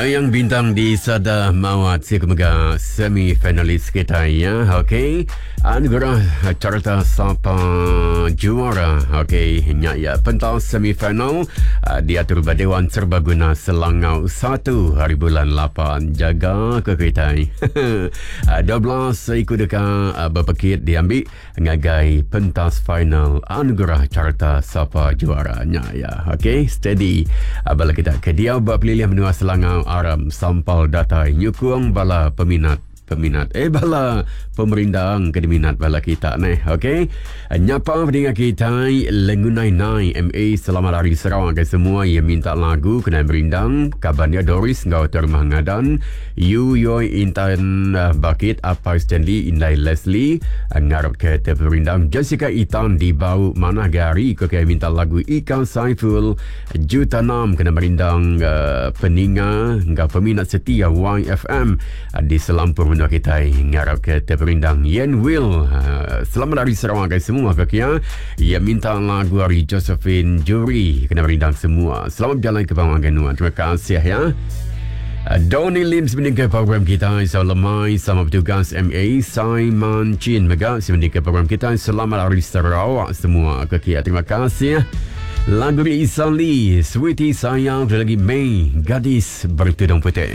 Dayang Bintang di Sada Mawat siku mega semi finalis kita ya. Okey. Anugerah Carta Sapa Juara. Okey, nya ya pentas semi final uh, diatur ba Dewan Serbaguna Selangau 1 hari bulan 8. Jaga ke kita. 12 iku deka uh, berpekit diambil ngagai pentas final Anugerah Carta Sapa Juara nya ya. Okey, steady. Ah, bala kita ke diau ba pelilih menua Selangau Aram sampal datai nyukung bala peminat peminat eh bala pemerindang ke diminat bala kita neh. Okey. Nyapa pedinga kitai Lengunai Nai MA selamat hari Sarawak ke semua yang minta lagu kena merindang kaban dia Doris enggau Termah Ngadan Yu Yoi Intan uh, Bakit Apai Stanley Indai Leslie uh, ngarap ke terperindang Jessica Itan di Bau Manah Gari ko ke minta lagu Ika Saiful Juta Nam kena merindang uh, peninga enggau peminat setia YFM uh, di selampur menua kitai ngarap ke terperindang Yen Will uh, selamat hari Sarawak guys semua ke kia ia minta lagu hari Josephine Juri kena merindang semua selamat berjalan ke bawah nuan terima kasih ya Uh, Donny Lim sebenarnya ke program kita Selamat lemai sama bertugas MA Simon Chin mega sebenarnya ke program kita Selamat Hari Sarawak semua ke kia Terima kasih Lagu ni Isa Lee Sweetie Sayang lagi May Gadis Bertudung Putih.